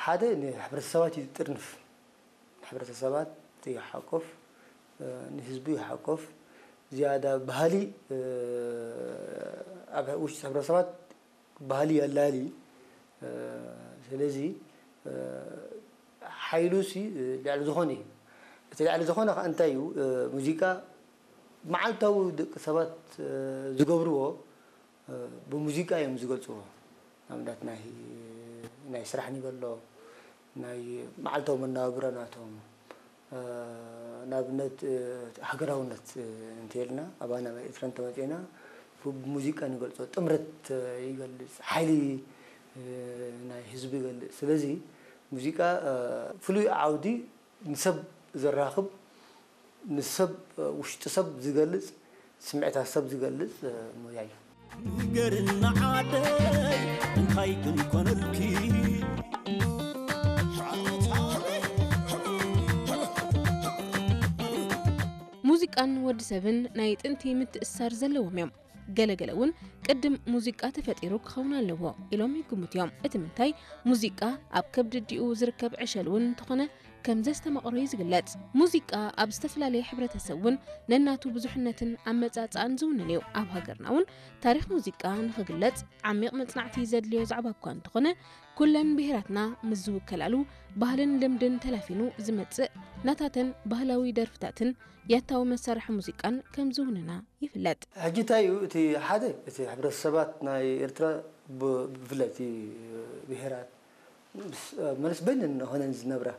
ሓደ ንሕብረተሰባት እዩ ዝጥርንፍ። ሕብረተሰባት ይሓቆፍ፣ ንህዝቡ ይሓቆፍ። ዝያዳ ባህሊ ኣብ ውሽጢ ሕብረተሰባት ባህሊ የላሊ። ስለዚ ሓይሉ ሲ ልዕሊ ዝኾነ እዩ። እቲ ልዕሊ ዝኾነ ከዓ እንታይ እዩ? ሙዚቃ መዓልታዊ ደቂ ሰባት ዝገብርዎ ብሙዚቃ እዮም ዝገልፅዎ። ንኣብነት ናይ ናይ ስራሕ ንበሎ ናይ መዓልታዊ መናባብሮ ናቶም ንኣብነት ሃገራውነት እንተልና ኣባና ኤርትራ እንተመፅና ብሙዚቃ ንገልፆ ጥምረት ይገልፅ ሓይሊ ናይ ህዝቢ ይገልፅ ስለዚ ሙዚቃ ፍሉይ ዓውዲ ንሰብ ዘራኽብ ንሰብ ውሽጢ ሰብ ዝገልፅ ስምዒታት ሰብ ዝገልፅ ሞያ እዩ። ንገርና ዓደይ እንታይ ክንኮነልኪ ሙዚቃን ወዲ ሰብን ናይ ጥንቲ ምትእስሳር ዘለዎም እዮም። ገለገለ እውን ቅድም ሙዚቃ ተፈጢሩ ክኸውን ኣለዎ ኢሎም ይግምቱ እዮም። እቲ ምንታይ ሙዚቃ ኣብ ከብዲ ኣዲኡ ዝርከብ ዕሸል እውን እንተኾነ ከም ዘስተማቕሮ እዩ ዝግለጽ። ሙዚቃ ኣብ ዝተፈላለየ ሕብረተሰብ እውን ነናቱ ብዙሕነትን ኣመጻጽኣን ዝውንን እዩ። ኣብ ሃገርና እውን ታሪኽ ሙዚቃ ንኽግለጽ ዓሚቕ መጽናዕቲ ዘድልዮ ዛዕባ እኳ እንተኾነ ኩለን ብሄራትና ምስ ዝውከላሉ ባህልን ልምድን ተላፊኑ ዝመጽእ ናታተን ባህላዊ ደርፍታትን ያታዊ መሳርሒ ሙዚቃን ከም ዝውንና ይፍለጥ። ሕጂ እንታይ እዩ እቲ ሓደ እቲ ሕብረተሰባት ናይ ኤርትራ ብፍላይ እቲ ብሄራት መለስ በይነን ሆነን ዝነብራ